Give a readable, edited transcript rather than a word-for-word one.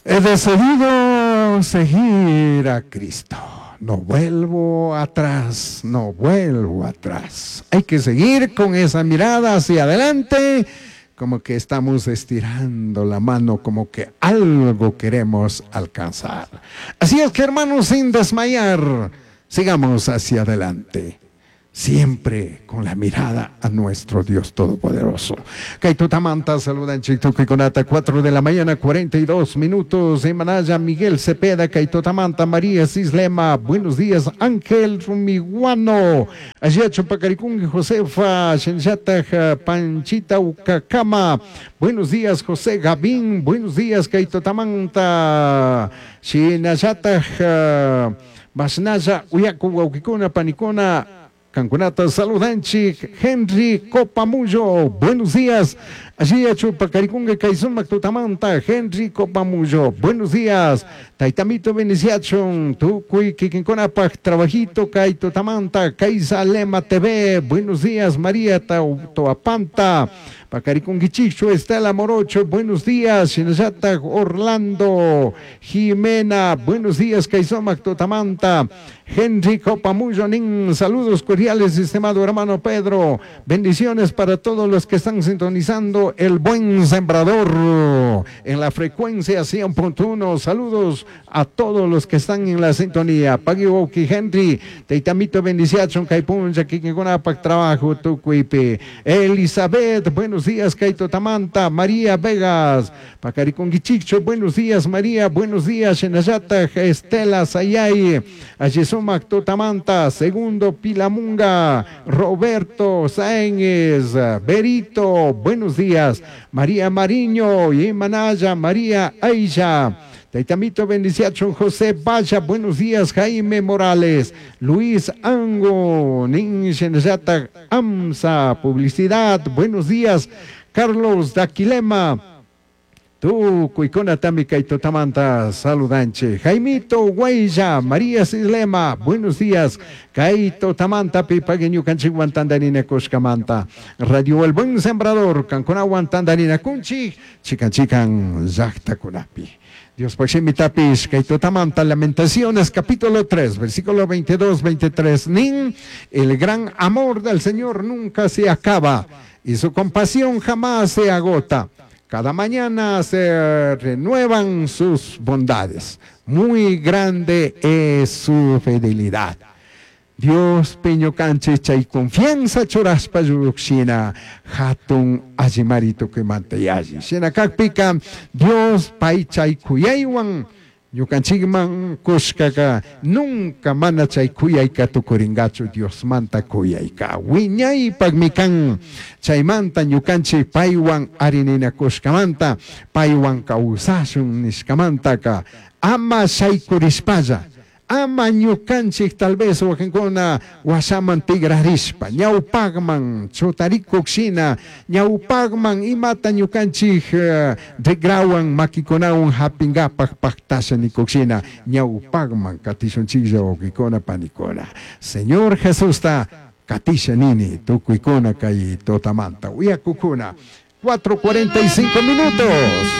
He decidido seguir a Cristo. No vuelvo atrás, no vuelvo atrás. Hay que seguir con esa mirada hacia adelante, como que estamos estirando la mano, como que algo queremos alcanzar. Así es que hermanos, sin desmayar, sigamos hacia adelante siempre con la mirada a nuestro Dios Todopoderoso. Kay tutamanta saludanchik tukuykunata 4 de la mañana 42 minutos. Emanaya Miguel Cepeda, kay tutamanta María Cislema. Buenos días, Ángel Rumiguano. Allá Chupacaricungue, Josefa, Shenyataj, Panchita Ucacama. Buenos días, José Gavín. Buenos días, kay tutamanta. Shinallataj, Masnaya, Uyaku, Wauquicuna, Panicuna. Kankunata saludanchik Henry Copamullo, buenos días. Allí Chupacaricunga Kaisumac Tutamanta, Henry Copamullo, buenos días. Taitamito Beniciachon, Tucuy Kikinkonapaj, Trabajito Kay Tutamanta, Kaisalema TV, buenos días. María Toapanta, Pacaricunguichicho, Estela Morocho, buenos días. Shinayata Orlando, Jimena, buenos días. Kaisomac Tutamanta, Henry Copamullo, Nin, saludos cordiales, estimado hermano Pedro. Bendiciones para todos los que están sintonizando El Buen Sembrador en la frecuencia 100.1. Saludos a todos los que están en la sintonía. Pagui Henry, Teitamito bendiciachon, Kaipuncha, Kikingunapak, trabajo, Tucuipe. Elizabeth, buenos días, Kaito Tamanta, María Vegas, Pacaricunguichicho, buenos días, María, buenos días, Shenayata, Estela Sayay, Ayesumac Totamanta, Segundo Pilamunga, Roberto Sáenz, Berito, buenos días, María Mariño, Yemanaya, María Aisha. Taitamito bendiciachon José Vaya, buenos días, Jaime Morales, Luis Ango, Ninshenayata Amsa, publicidad, buenos días, Carlos Daquilema. Tukuykuna tami kay tutamanta saludanche. Jaimito Guaya, María Sislema, buenos días. Kay tutamanta pipague ñukanchikwan tandarina kushkamanta. Radio El Buen Sembrador, kankunawan tandarina kunchik, chikan chikan llaqtakunapi. Dios Paximitapish, kay tutamanta Lamentaciones, capítulo 3, versículo 22, 23. Nin, el gran amor del Señor nunca se acaba y su compasión jamás se agota. Cada mañana se renuevan sus bondades. Muy grande es su fidelidad. Dios piñukanchik chay confianza churashpa llukshina hatun allimari tukuymanta yalli. Shina kakpika Dios pay chay kuyaywan ñukanchikman kushkaka nunca mana chay kuyayka tukuringachu Diosmanta kuyayka. Wiñaypaqmi kan chaymanta ñukanchik paywan arininakushkamanta paywan kawsashun nishkamantaka ama shaykurishpalla. Ama ñukanchik tal vez wakinkuna washaman tigrarishpa ñawpaqman chutarikuq shina ñawpaqman imata ñukanchik rigrawan makikunawan hapingapaq paqtasha nikuq shina ñawpaqman katishunchiklla wawqikuna panikuna. Señor Jesusta katisha nini tukuykuna kay tutamanta uyakukuna 4:45 minutos.